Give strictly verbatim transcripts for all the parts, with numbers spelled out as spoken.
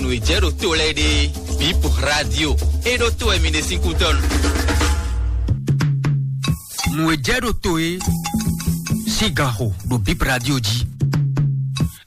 Nǔ e jɛ ɖo to lɛ́ɛ ɖe, Bip Radio. É ɖó to wɛ mi ɖe sín kútɔ́nu. Nǔ e jɛ ɖo to é sín ganxo ɖo Bip Radio jí.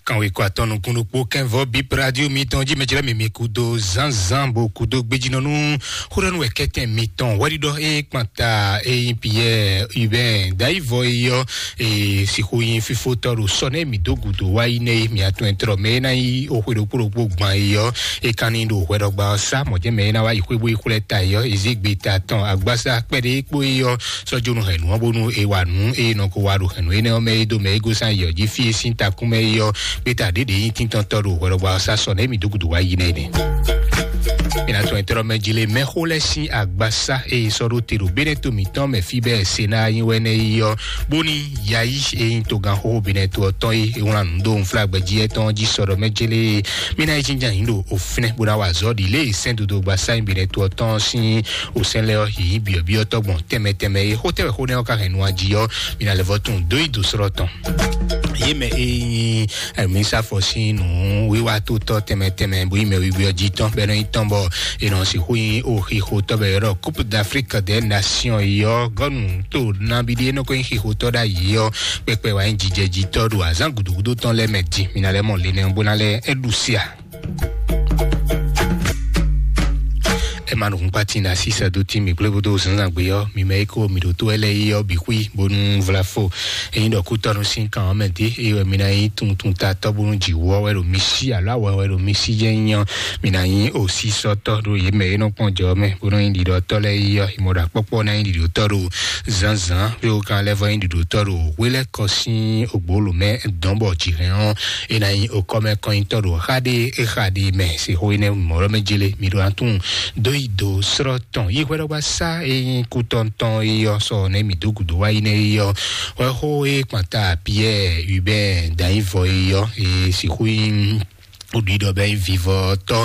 Kanwe kɔ atɔn nukún ɖokpó kɛnvɔ Bip Radio mitɔn jí mɛ jlɛ́ mi mi kudo zánzán bo kudo gbejínɔnú xóɖɔnú wɛ kɛtɛn mitɔn wɛɖiɖɔ é kpanta é nyí Pierre Hubert Dayivɔ é yɔ é sixú nyí fífótɔ́ ɖo sɔ nɛ mi dó gǔdo wá yi nɛ mi atɔn ɛtrɔ mɛ é ná nyí oxwe ɖokpó ɖokpó gban é yɔ é kan ní ɖo hwɛɖɔgba ɔ́ sá mɔ̌ jɛ́n mɛ é ná wá yi xwé bó yi xwlɛ́ ta é yɔ é zé gbe ta tɔn agbásá kpɛɖé kpó é yɔ sɔ́ jó nú hɛ̌nnu ɔ́ bónú è wa nǔ eye nɔ ko wa ɖo hɛ̌nnu énɛ́ ɔ́ mɛ é dó mɛ é gosín ayǐ ɔ́ jí fí e sín takún mɛ é ɔ́ gbéta ɖěɖě nyí tíntɔ́ntɔ́ ɖo hwɛɖɔgba ɔ́ sá sɔ nɛ̌ mi dó gǔdo wá yi nɛ́ nɛ́. Mǐ ná tɔn tɔ́rɔ mɛ jí lé mɛxó lɛ́ɛ sín agbasá e sɔ́ ɖó te ɖo bénɛ́ to mǐtɔn mɛ fí bɛ́ Senáa nyí wɛ nɛ́ yi ɔ́, bóní yayi e nyí togán xóxó bénɛ́ to ɔ́ tɔn é wlán nǔ dó unflágbɛjí ɛtɔn jí sɔ́ ɖɔ mɛ jélé. Mí ná yi jínjɔ́n ayǐ ɖo òfínɛ́ bó ná wa azɔ̌ ɖi lě e sɛ́n dodogba sáyìn bénɛ́ to ɔ́ tɔn sín òsɛ́n lɛ́ɛ ɔ́ yǐ byɔ̌byɔ́ tɔ́gbɔn tɛnmɛ tɛnmɛ é xó tɛ́ wɛ xó nɛ́ ɔ́ ka hɛn nu jí ɔ́, mǐ ná lɛ́ vɔ́ tunwun dó yi dǒ slɔ́ tɔn. Yě mɛ e nyí ɛmísàfɔ sín nǔ wíwá tó tɔ́ tɛnmɛ tɛnmɛ bó nyí mɛ wíwí ɔ́ jí tɔn bɔ é nɔ nyí tɔn bɔ è nɔ sixú nyí oxixo tɔ́ bɔ è ylɔ́ Coupe d'Afrique des Nations yi ɔ́ gɔ́nu tó nabí ɖé nɔ ko nyí xixo tɔ́ ɖ'ayǐ ɔ́ kpɛkpɛ wá nyí jijɛ jí tɔ́ ɖo azǎn gǔdúgúdú tɔn lɛ́ɛ mɛ din. Mǐ ná lɛ́ mɔ le nɛ́ bó ná lɛ́ é ɖu sí a? Ema nukúnkpatí na sísɛ dó tí mi kplé bódó zǎnzǎngbe ɔ́, mi mɛ e ko mi ɖo tó wɛ lɛ́ɛ yi ɔ́ bǐ xwí bónú vlafo. Ényí ɖɔ kútɔ́nu sín kan ɔ́ mɛ dé, eye wɛ mi ná nyí tuntun tatɔ́ bónú jǐ wú ɔ́ wɛ ɖo mi sí alo awɛ wɛ ɖo mi sí jɛ́n nyí ɔ́, mi ná nyí osísɔ́tɔ́ ɖo yě mɛ e nɔ kpɔ́n jɔ ɔ́ mɛ, bónú nyí ɖiɖɔtɔ́ lɛ́ɛ yi ɔ́, yi mɔ ɖo akpɔ́kpɔ́ ná nyí ɖiɖɔtɔ́ ɖo zǎnzǎn, fí wú kan lɛ́ vɔ nyí ɖiɖɔtɔ́ ɖo hwelɛ́kɔ sín ògbólú mɛ dɔn bɔ jǐ hɛn ɔ́, é ná nyí okɔ́mɛkɔnyitɔ́ ɖo xá ɖé é xa ɖé mɛ. Sixú énɛ́ mɔ̌ lɔ́ mɛ jélé mi ɖo atún dó yi do srɔ́ tɔn yi hwɛɖɔgba sá e nyí kútɔntɔn é yɔ sɔ nɛ mi dó gǔdo wá yi nɛ é yɔ hwɛ xó é kpanta Pierre Hubert Danyivɔ é yɔ é sixú nyí oɖuɖɔ bɛ nyí vivɔtɔ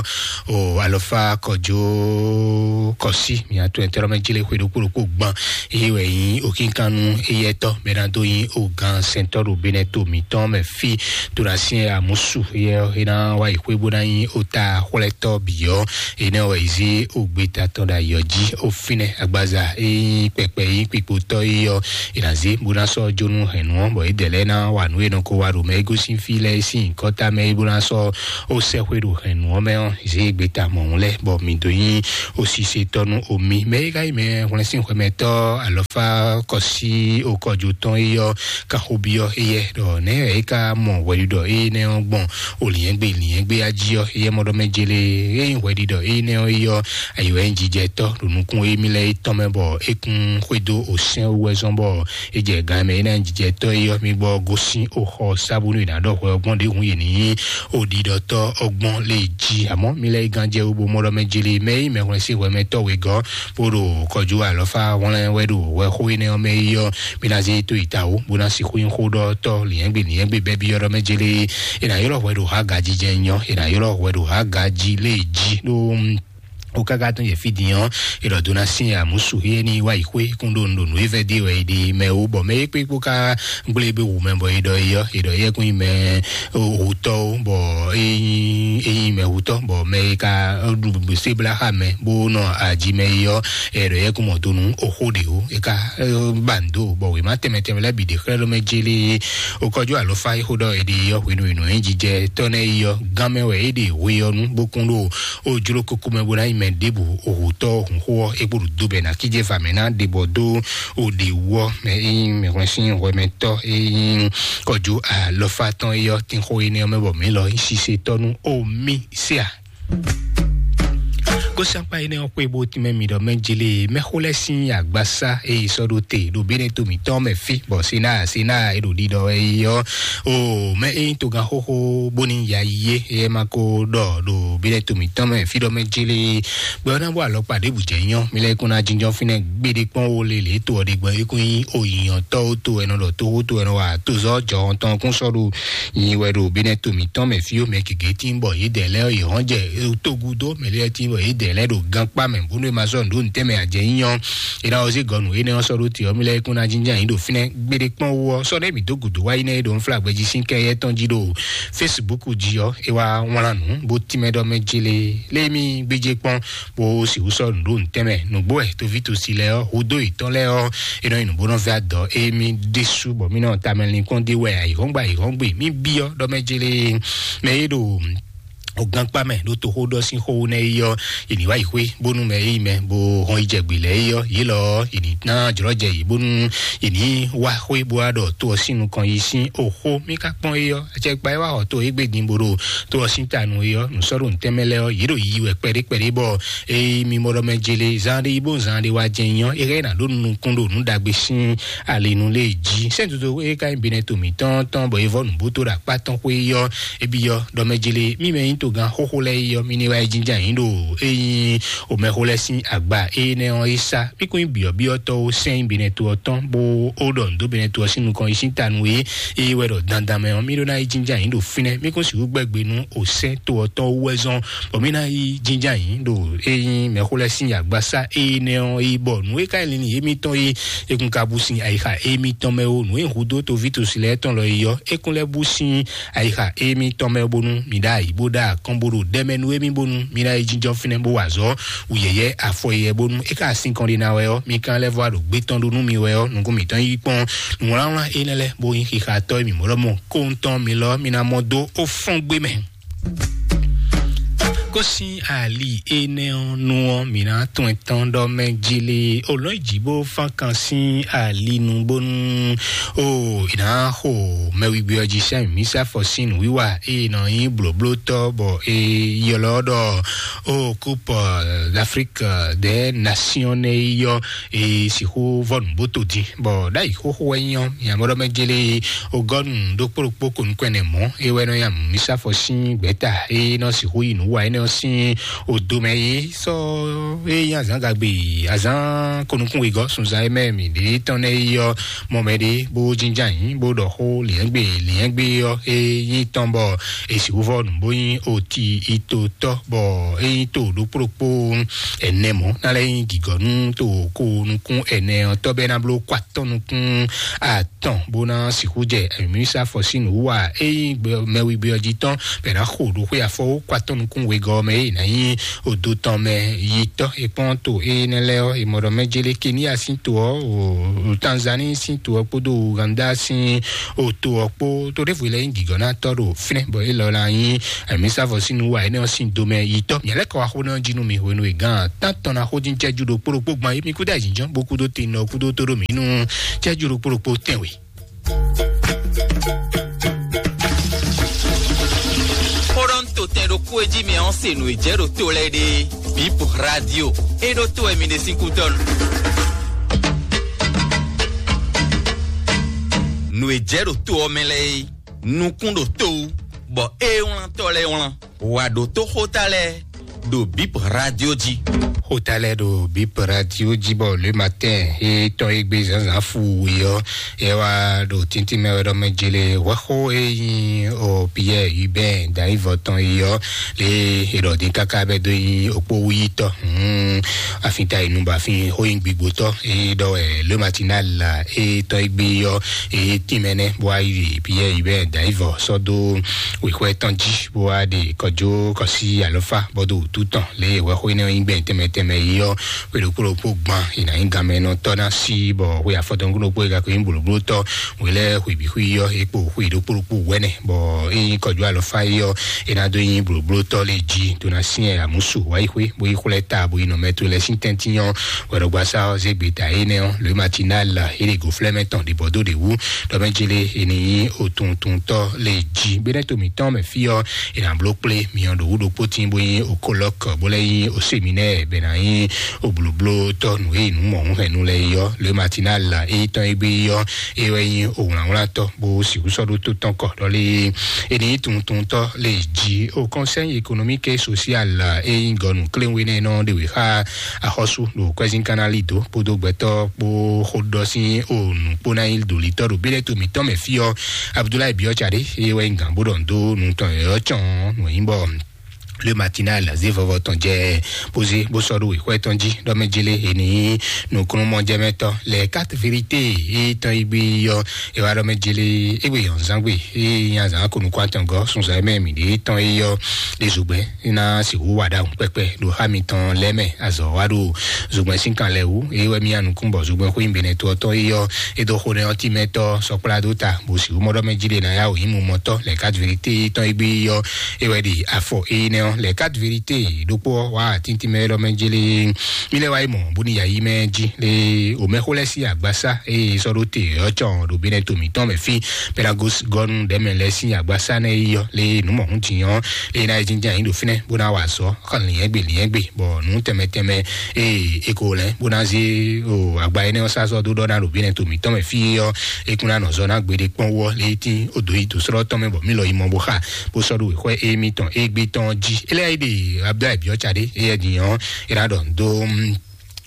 o alɔfa kɔjó kɔsi mi atún ɛtɛrɔ mɛ jélé xwe ɖokpó ɖokpó gban é wɛ nyí okínkanu éyɛtɔ bɛ ná dó nyí ogan sɛntɔ ɖo benɛ to mǐtɔn mɛ fi to ɖo asi amusu yɛ é ná wá yi xwé bó ná nyí ota xwlɛtɔ bǐ ɔ́. Énɛ́ wɛ yi zé ogbeta tɔn ɖo ayɔ jí ofínɛ agbaza é nyí kpɛkpɛ é nyí kpikpotɔ é ɔ́, è nǎ zé bó ná sɔ́ jó nú hɛ̌nnu ɔ́, bɔ é dɛ lɛ́ɛ ná wa nǔ e nɔ ko wa ɖo mɛ é gosín fí lɛ́ɛ é sín nyǐkɔ tamɛ é bó ná sɔ́ ó sɛ́xwé ɖo hɛ̌nnu ɔ́ mɛ ɔ́, zě e gbeta mɔ̌hun lɛ́ɛ, bɔ mǐ dó nyí osise tɔ́ nú omi. Mɛ e ka nyí mɛ hwlɛ́nsínxwɛmɛtɔ́ alɔfá kɔsí okɔjo tɔn é ɔ́, ka xó byɔ́ éyɛ́ ɖɔ nɛ̌ wɛ é ka mɔ hwɛɖiɖɔ énɛ́ ɔ́ gbɔn olǐnyɛ́gbe lǐnyɛ́gbe ají ɔ́, éyɛ́ mɔ ɖɔ mɛ jélé é nyí hwɛɖiɖɔ énɛ́ ɔ́ é ɔ́, ayǐ wɛ nyí jijɛtɔ́ ɖo nukún émí lɛ́ɛ é tɔn mɛ, bɔ é kún xwedó osɛ́n wú wɛ zɔ́n bɔ é jɛ gan mɛ é ná nyí jijɛtɔ́ é ɔ́, mì gbɔ gosín oxɔ sábúnú è nǎ ɖɔ hwɛ ɔ́ gbɔn ɖěhǔn yě ní nyí oɖiɖɔtɔ́ ɔ́ gbɔn lě jí. Amɔ̌ mi lɛ́ yi gán jɛ wú bó mɔ ɖɔ mɛ jlí mɛ e nyí mɛhwlɛ́nsínhwɛmɛtɔ́ wegɔ́ bó ɖo kɔjú alɔfá hwlɛ́n wɛ ɖo hwɛxó énɛ́ ɔ́ mɛ é ɔ́, mi ná zé tó yi ta wú bó ná sixú nyí xóɖɔtɔ́ lǐnyɛ́gbe lǐnyɛ́gbe bɛ́ byɔ́ ɖɔ mɛ jlí. È nǎ ylɔ́ hwɛ ɖo Haga jijɛ nyɔ, è nǎ ylɔ́ hwɛ ɖo Haga jí lě jí ɖó o káká tɔn yɛ fí din ɔ́, è ɖɔ dó ná sín amǔsu é ní wá yi xwé kún ɖo nǔɖonú é vɛ́ dé wɛ é ɖe mɛ wú, bɔ mɛ é kpé kpó ká gblé gbé wǔ mɛ bɔ é ɖɔ é yɔ, é ɖɔ yɛ kún yi mɛ wútɔ́ ó, bɔ é nyí é nyí mɛ wútɔ́, bɔ mɛ é ka ɖu sébláxa mɛ bó nɔ aji mɛ é yɔ, é ɖɔ yɛ kún mɔ donu oxó ɖe ó, é ka ba ndo, bɔ wěma tɛnmɛ tɛnmɛ lɛ́ɛ bǐ ɖe xlɛ́ ɖó mɛ jélé ó kɔjú alɔfá é xó ɖɔ é ɖe yɔ hwenu hwenu é jijɛ tɔ́ nɛ é yɔ gán mɛ wɛ é ɖe hwe ɔ́ nú bó kún ɖo ó jló kókó mɛ bó ná nyí mɛ ɖěbǔ òhutɔ́ hǔnxó ɔ́ é kpo ɖo do bɛ ná kíjé va mɛ ná ɖe bɔ dó ó ɖe wú ɔ́ mɛ é nyí mɛ hwɛn sín hwɛmɛtɔ́ é nyí kɔjú alɔfá tɔn é yɔ tínxó énɛ́ ɔ́ mɛ bɔ mǐ lɔ nyí sisetɔ́ nú omi séa. Kósánkpá énɛ́ ɔ́ xwé bó tínmɛ mi ɖɔ mɛ jélé mɛxó lɛ́ɛ sín agbasá e yi sɔ́ ɖó te ɖo bénɛ́ to mǐtɔn mɛ fí bɔ Senáa Senáa e ɖo ɖiɖɔ wɛ é ɔ́, o mɛ e nyí togán xóxó bóní ya yi é, é ma ko ɖɔ ɖo bénɛ́ to mǐtɔn mɛ fí ɖɔ mɛ jélé gbɛ ɔ́ ná bɔ alɔkpa ɖěbǔ jɛ nyɔ́ mi lɛ́ kún ná jínjɔ́n fínɛ́ gbeɖé kpɔ́n wo lélě to ɔ́ ɖe gbɔn é kún nyí oyǐnyɔ́tɔ́ ó to ɛnɔ ɖɔ tóxó to ɛnɔ wa tozɔ́ jɔhɔn tɔn kún sɔ́ ɖo nyi wɛ ɖo bénɛ́ to mǐtɔn mɛ fí ó mɛ gěgé tín bɔ yě dɛ lɛ́ɛ yě hɔn jɛ togu dó mɛ lɛ́ɛ tín bɔ yě dɛ lɛ́ ɖo gankpá mɛ bónú e ma sɔ́ nǔ ɖó ntɛ́nmɛ ajɛ nyínyɔ́. É ná ɔ́ zé gɔ̌ nǔ énɛ́ ɔ́ sɔ́ ɖó te ɔ́, mì lɛ́ kún ná jínjɔ́n ayǐ ɖo fínɛ́ gbéɖé kpɔ́n wú ɔ́, sɔ́ ɖɛ́ mǐ dó gǔdo wá yi nɛ́ é ɖo nflá gbɛjí sín kɛ yɛ́ tɔn jí ɖo Facebook jí ɔ́, é wá wlán nǔ bó tínmɛ ɖɔ mɛ jélé lé mì gbéjé kpɔ́n bó sixú sɔ́ nǔ ɖó ntɛ́nmɛ. Nǔgbó wɛ toví tosi lɛ́ɛ ɔ́, hudó yětɔn lɛ́ɛ ɔ́, é nɔ nyi nǔ bó nɔ vɛ́ adɔ émí ɖésú bɔ mí nɔ tamɛ linkpɔ́n ɖé wɛ ayǐhɔ́ngbe ayǐhɔ́ngbe mí byɔ́ ɖɔ mɛ jélé mɛ é ɖo o gankpá mɛ ɖó toxó ɖɔ sín xó nɛ yi ɔ́, yě ní wá yi xwé bónú mɛ yi mɛ bó hɔn yi jɛ gbě lɛ́ɛ yi ɔ́, yě lɔ ɔ́, yě ní ná jlɔ́ jɛ yě bónú yě ní wá xwé bó wá ɖɔ tó ɔ́ sín nukɔn yi sín oxó. Mí ka kpɔ́n yi ɔ́, acɛkpa yi wá xɔ tó égbé din bó ɖo tó ɔ́ sín ta nú yi ɔ́, nǔ sɔ́ ɖo ntɛ́nmɛ lɛ́ɛ ɔ́, yě ɖo yiyi wɛ kpɛɖé kpɛɖé bɔ eye mimɔ ɖɔ mɛ jele zan ɖé yi bó zan ɖé wá jɛ nyí ɔ́, é hɛn ná ɖó nukún ɖo nǔ ɖagbe sín alinu lé jí. Sɛ́n toto é ka nyí binɛ to mǐtɔn tɔn bɔ é vɔ nǔbútó ɖo akpá tɔn xwé yi ɔ́, é byɔ́ ɖɔ mɛ jele mí mɛ nyí togán xóxó lɛ́ɛ yi ɔ́, mí ní wá yi jínjɔ́n ayǐ ɖo é nyí omɛxó lɛ́ɛ sín agba énɛ́ ɔ́ é sá. Mí kún nyí byɔ̌byɔ́tɔ́ ó sɛ́n nyí binɛ to ɔ́ tɔn bó ó ɖɔ nǔ dó binɛ to ɔ́ sín nukɔn yi sín ta nú é é wɛ ɖɔ dandan mɛ ɔ́, mí ɖó ná yi jínjɔ́n ayǐ ɖo fínɛ́. Mí kún sixú gbɛ́ gbe nú osɛ́n to ɔ́ tɔn wú wɛ zɔ́n bɔ mí ná yi jínjɔ́n ayǐ ɖo é nyí mɛxó lɛ́ɛ sín agbasá énɛ́ ɔ́ yi bɔ nǔ e ka nyí linlin yěmítɔn é é kún ka bú sín ayixa émítɔn mɛ ó. Nǔ e hudó toví tosi lɛ́ɛ tɔn lɔ yi ɔ́, é kún lɛ́ bú sín ayixa émítɔn mɛ bónú mi ɖó ayǐ bó ɖó akɔ́n bó ɖo ɖɛmɛ nú émí bónú mi ná yi jínjɔ́n fínɛ́ bó wa azɔ̌ wǔ yɛ̌yɛ́ afɔ yɛ bónú é ka sín kɔn ɖé ná wɛ ɔ́, mi ka lɛ́ vɔ ɖo gbé tɔn ɖó nú mi wɛ ɔ́, nukún mǐtɔn yí kpɔ́n nǔwlánwlán énɛ́ lɛ́ɛ bó nyí xixatɔ́ e mǐ mɔ ɖɔ mɔ kóntɔn mi lɔ mi ná mɔ dó ó fɔ́n gbé mɛ. Kó sín ali énɛ́ ɔ́ nu ɔ́, mǐ ná tún ɛ tɔn ɖɔ mɛ jili olɔ́n jǐ bó fán kan sín ali nu bónú o ì ná xo mɛwigbí ɔ́ jí sɛ́n mǐ sá fɔ sín nǔwiwa e nɔ nyí blǒblótɔ́ bɔ è ylɔ́ ɖɔ o coupe d'Afrique des nations nɛ yi ɔ́, è sixú vɔ nǔbóto dín bɔ ɖ'ayǐ xóxó wɛ nyí ɔ́, mǐ ná mɔ ɖɔ mɛ jili ogɔ́nu ɖokpó ɖokpó ko nukɔn ɛnɛ mɔ̌ é wɛ nɔ nya mǐ sá fɔ sín gbɛ̌ta e nɔ sixú yi nǔ wa énɛ́ ɔ́ sín odo mɛ é sɔ́ é nyí azǎn gagbe azǎn konukún wegɔ́ sunzan e mɛ mǐ ɖe tɔn nɛ́ yi ɔ́ mɔ mɛ ɖé bó jínjɔ́n ayǐ bó ɖɔ xó lǐɛ́ngbé lǐɛ́ngbé ɔ́ é nyí tɔn bɔ è sixú vɔ nǔ bó nyí oti itotɔ́ bɔ é nyí to ɖokpó ɖokpó ɛnɛ mɔ̌ ná lɛ́ nyí gǐgɔ́ nú to ko nukún ɛnɛ ɔ́ tɔ́ bɛ́ ná bló kó atɔ́ nukún atɔn bó ná sixú jɛ mǐsa fɔ sín nǔ wa é nyí mɛwigbé ɔ́ jí tɔn bɛ́ ná xo ɖo xwé afɔ ó kó atɔ́ nukún wegɔ́ ɔ́ mɛ é ná nyí odo tɔn mɛ yi tɔ́ é kpɔ́n to énɛ́ lɛ́ɛ ɔ́, è mɔ ɖɔ mɛ jélé Kenya sín to ɔ́, o Tanzanie sín to ɔ́ kpódó Uganda sín o to ɔ́ kpó to ɖěvo lɛ́ɛ nyí gǐgɔ́nátɔ́ ɖo fínɛ́ bɔ é lɔ ná nyí mǐsa fɔ sín nǔ wa énɛ́ ɔ́ sín domɛ yi tɔ́. Mǐ lɛ́ kɔ wá xó nɛ́ ɔ́ jí nú mi hwenu e gǎn tántɔn ná xó dín cɛ́jú ɖokpó ɖokpó gbɔn é mi kúdó ayǐjínjɔ́n bó kúdó te nɔ kúdó tó ɖó mǐ nú cɛ́jú ɖokpó ɖokpó tɛ́nwe. Xóɖɔ́ntotɛn ɖokpó e jí mi ɔ́ se nǔ e jɛ ɖo to lɛ́ɛ ɖe bip radio é ɖó to wɛ mi ɖe sín kútɔ́nu. Nǔ e jɛ ɖo to ɔ́ mɛ lɛ́ɛ é nukún ɖo to wú bɔ é wlántɔ́ lɛ́ɛ wlán. Wà ɖo tó xóta lɛ́ɛ ɖo bip radio jí. Xóta lɛ́ɛ ɖo bip radio jí bɔ le matin é tɔn é gbé zǎnzǎn fu wě ɔ́, é wá ɖo tíntín mɛ wɛ ɖɔ mɛ jele hwɛxó é nyí o Pierre Hubert Daivɔ tɔn é ɔ́, lé é ɖɔ dín káká bɛ dó nyí okpó wúyítɔ́. Hmm, afin ta yi nu bɔ afin xó nyí gbigbotɔ́ é ɖɔ wɛ le matinal é tɔn é gbé ɔ́ é tínmɛ nɛ́ bó wá yi Pierre Hubert Daivɔ sɔ́ dó wěxwɛ́ tɔn jí bó wá ɖe kɔjó kɔsí alɔfá bɔ dó wútu tɔn lě e hwɛxó énɛ́ ɔ́ nyí gbɛn tɛnmɛ tɛnmɛ yi ɔ́, xwe ɖokpó ɖokpó gban è nǎ nyí ganmɛ nɔ tɔ́ ná sí bɔ xwe afɔtɔn ɖokpó e ka ko nyí blǒbló tɔ́ wě lɛ́ɛ xwe bǐ xwe yi ɔ́ é kpo xwe ɖokpó ɖokpó wɛnɛ bɔ é nyí kɔjó alɔfá yi ɔ́ é ná dó nyí blǒbló tɔ́ lě jí tó ná syɛ́n amǔsu wá yi xwé bó yi xwlɛ́ ta bó yi nɔ mɛ to lɛ́ɛ sín tɛ́ntin ɔ́ wɛɖɔgbasá ɔ́ zé gbeta énɛ́ ɔ́ le matinal é ɖe go flɛ́mɛ tɔn ɖě bɔ dó ɖě wú ɖɔ mɛ jele è nǐ nyí otuntuntɔ́ lě jí gbéɖɛ́ to mǐtɔn mɛ fí ɔ́ è nǎ bló kplé myɔ ɖo wú ɖokpó tín bó nyí okolɔ́k bó lɛ́ nyí oseminɛ́ɛ bɛ ná nyí oblǒblótɔ́ nǔ e nǔ mɔ̌hunhɛnnu lɛ́ɛ yi ɔ́ le matinal é tɔn é gbé yi ɔ́ é wɛ nyí owlǎnwlátɔ́ bó sixú sɔ́ ɖó tó tɔn kɔ ɖɔlé è nǐ nyí tuntuntɔ́ lě jí o conseil économique et social é nyí gɔnu kléwénɛnɔ ɖe wě xá axɔ́sú ɖo kwɛ́zín kanali dó kpódó gbɛtɔ́ kpó xóɖɔ sín o nǔkpó ná nyí ɖolitɔ́ ɖo bílẹ̀ to mǐtɔn mɛ fí ɔ́ Abudulayi Biɔ́tsa ɖé é wɛ nyí gǎn bó ɖɔ nǔ dó nǔ tɔn yɔ̌yɔ́ cɔn nǔ nyí bɔ Le Matinal zé vɔvɔ tɔn jɛ bó zé bó sɔ́ ɖó wěxwɛ́ tɔn jí ɖɔ mɛ jélé è ní nukúnnú mɔjɛmɛtɔ́ lɛ quatre vérité e tɔn yi gbé yɔ. E wá ɖɔ mɛ jélé égbé yɔn zán gbé e nya zán ko nukún atɔngɔ sunzɔ mɛ mǐ ɖé tɔn e yɔ ɖe zogbɛ́n ná sixú wa ɖahun kpɛkpɛ ɖo xá mitɔn lɛ́ mɛ. Azɔ wá ɖo zogbɛ́n sín kan lɛ wú e wɛ mía nukún bɔ zogbɛ́n xwé nyí benɛtɔ́ tɔn e yɔ e dó xo nɛ ɔ́ timɛtɔ́ sɔkplá dó ta bó sixú mɔ ɖɔ mɛ jí ɖe ná yá wò nyí mumɔtɔ́ lɛ quatre vérité e tɔn e gbé yɔ. E wɛ ɖi afɔ éyí nɛ́ ɔ́ lɛ quatre vérité ɖokpó ɔ́ wá atíntín mɛ ɖɔ mɛ jélé. Mí lɛ́ wá yi mɔ bóni yayí mɛ jí lé omɛxó lɛ́ sín agbasá eye sɔ́ ɖó te ɔ́ cɔn ɖo benɛto mǐtɔn mɛ fí. Pelagos gɔnu ɖɛmɛ lɛ́ sín agbasá nɛ yi ɔ́ lé nǔ mɔ̌hún din ɔ́ lé ná yi jínjɛ́n ayǐ ɖo fínɛ́ bó ná wa azɔ̌ xɔ lǐnyɛ́gbe lǐnyɛ́gbe bɔ nǔ tɛnmɛ tɛnmɛ eye e ko lɛ́ bó ná zé o agba énɛ́ ɔ́ sá sɔ́ dó ɖɔ ná ɖo benɛto mǐtɔn mɛ fí ɔ́. E kún ná nɔ zɔ ná gbeɖé kpɔ́n wú ɔ́ lé tín o dǒ yi dǒ sɔ́ tɔn mɛ bɔ mí lɔ yi mɔ bó xa bó sɔ́ ɖo wěxwɛ́ émítɔn égbé tɔn jí. Eléyìí ɖe Abdoulaye Biɔtsa ɖé éyɛ din ɔ́ é ná ɖɔ dó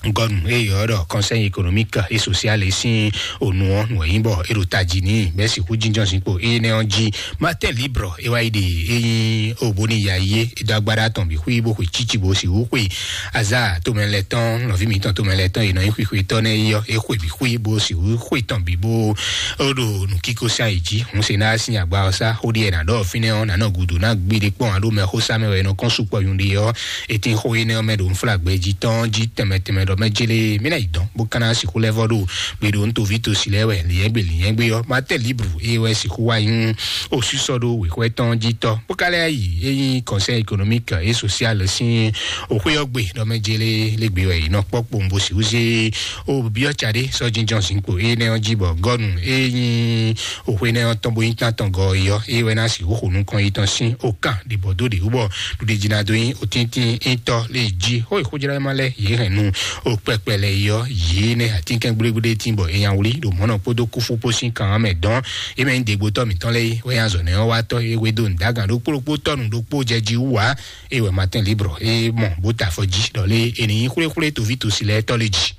gɔnu eye ɔ́ ɖɔ conseil économique et social e sín onu ɔ́ nǔ e nyí bɔ é ɖo tají ní bɛ́ sixú jínjɔ́n zinkpo énɛ́ ɔ́ jí. Matin libre é wá yi ɖe é nyí o bóni ya yé é dó agbára tɔn bǐ xwí bó xwe cíci bó sixú xwe azá tomɛ lɛ tɔn nɔví mǐtɔn tomɛ lɛ tɔn e nɔ nyí xwixwetɔ́ nɛ́ é yɔ é xwe bǐ xwí bó sixú xwe tɔn bǐ bó ó ɖo nǔkíkó sá yi jí. Hun se ná sín agba ɔ́ sá xó ɖíe nǎ ɖɔ fínɛ́ ɔ́ nǎ nɔ gudu ná gbé ɖé kpɔ́n aɖó mɛ xó sá mɛ wɛ nɔ kɔn sukpɔ yun ɖe ɔ́. Etin xó énɛ́ ɔ́ mɛ ɖo nflágbɛ jí tɔn jí tɛnmɛ tɛnmɛ ɖɔ mɛ jélé mí ná yi dɔn bó ka ná sixú lɛ́ vɔ ɖo gbe ɖo ntoví tosi lɛ́ wɛ lǐnyɛ́gbe lǐnyɛ́gbe ɔ́. Matin libre é wɛ sixú wá nyí osísɔ ɖo wěxwɛ́ tɔn jí tɔ́ bó ka lɛ́ yi é nyí conseil économique et social sín òxwé ɔ́ gbe ɖɔ mɛ jélé lé gbe wɛ yi nɔ kpɔ́ kpowun bó sixú zé o byɔ́ tsa ɖé sɔ́ jínjɔ́n zinkpo énɛ́ ɔ́ jí bɔ gɔnu é nyí òxwe nɛ ɔ́ tɔn bó nyí tán tɔn gɔ ɔ́ é wɛ ná sixú xo nukɔn yi tɔn sín okan ɖibɔ dó ɖě wú bɔ ɖuɖe jí ná dó nyí otíntín ítɔ́ lé jí xó e xójlá ma lɛ yě hɛn nu o kpɛkpɛ lɛ yi ɔ́ yě nɛ atínkɛn gblégblédé tín bɔ é nya wlí ɖo mɔ̌nɔ kpódó kúfú kpó sín kan ɔ́ mɛ dɔn. É mɛ nyí degbotɔ́ mǐtɔn lɛ́ɛ é wɛ nya zɔ nɛ ɔ́ wá tɔ́ é wé dó nǔdágan ɖokpó ɖokpó tɔnu ɖokpó jɛ jí wú ǎ. É wɛ Matin libre é mɔ bó ta afɔ jí ɖɔ lé é ní nyí xwléxwlé toví tosi lɛ́ɛ tɔ́ lé jí.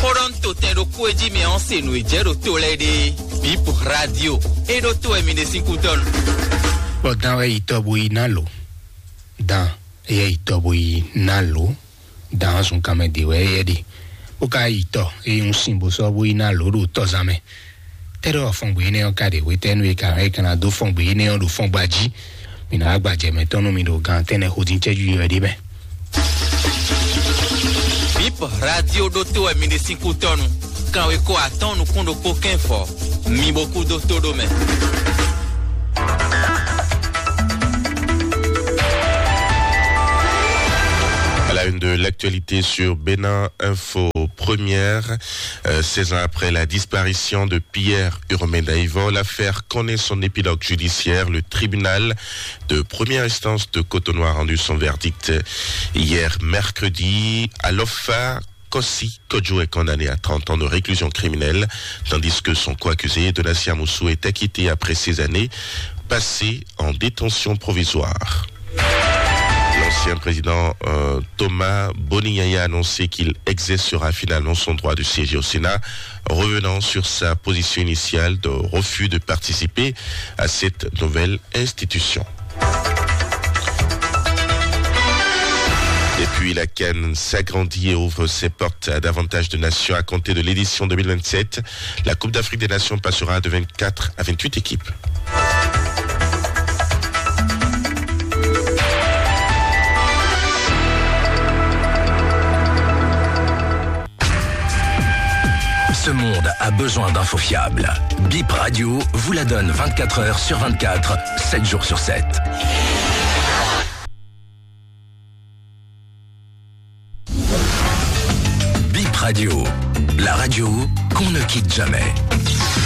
Xó ɖɔ un to tɛn ɖokpó e jí mɛ ɔ́ se nǔ e jɛ ɖo to lɛ́ɛ ɖe. Bip radio e ɖó to wɛ mi ɖe sín kútɔ́nu. Bɔ dan wɛ yi tɔ bo yi ná lǒ. Dan eyɛ yi tɔ bo yi ná lǒ. Dan ɔ́ sun kanmɛ ɖe wɛ eyɛ ɖe. Bó ka yi tɔ eye un sin bó sɔ́ bó yi ná lǒ ɖo tɔzán mɛ. Tɛ́ɖɔ fɔngbe énɛ́ ɔ́ ka ɖe hwetɛ́nu e ka hɛn é ka ná dó fɔngbe énɛ́ ɔ́ ɖo fɔngba jí. Mi ná wá gbajɛ mɛtɔn nú mi ɖo gan tɛ́nnɛ xo dín cɛ́jú yɔ ɖé mɛ. Bip radio ɖótó wɛ mi ɖe sín kútɔ́nu. Kanwekó atɔ́ɔ́n nukún ɖokpó kɛ́n fɔ. Mi bo kú dó tó ɖó mɛ. À la une de l'actualité sur Bénin Info Première, euh, seize ans après la disparition de Pierre Urmé Daïvo, l'affaire connaît son épilogue judiciaire. Le tribunal de première instance de Cotonou a rendu son verdict hier mercredi. Alofa Kossi Kodjo est condamné à trente ans de réclusion criminelle, tandis que son co-accusé, Donatien Amoussou, est acquitté après ces années passées en détention provisoire. L'ancien président, euh, Thomas Boni Yaya a annoncé qu'il exercera finalement son droit de siéger au Sénat, revenant sur sa position initiale de refus de participer à cette nouvelle institution. Et puis la CAN s'agrandit et ouvre ses portes à davantage de nations à compter de l'édition deux mille vingt-sept. La Coupe d'Afrique des Nations passera de vingt-quatre à vingt-huit équipes. Ce monde a besoin d'infos fiables. Bip Radio vous la donne vingt-quatre heures sur vingt-quatre, sept jours sur sept. Bip Radio, la radio qu'on ne quitte jamais.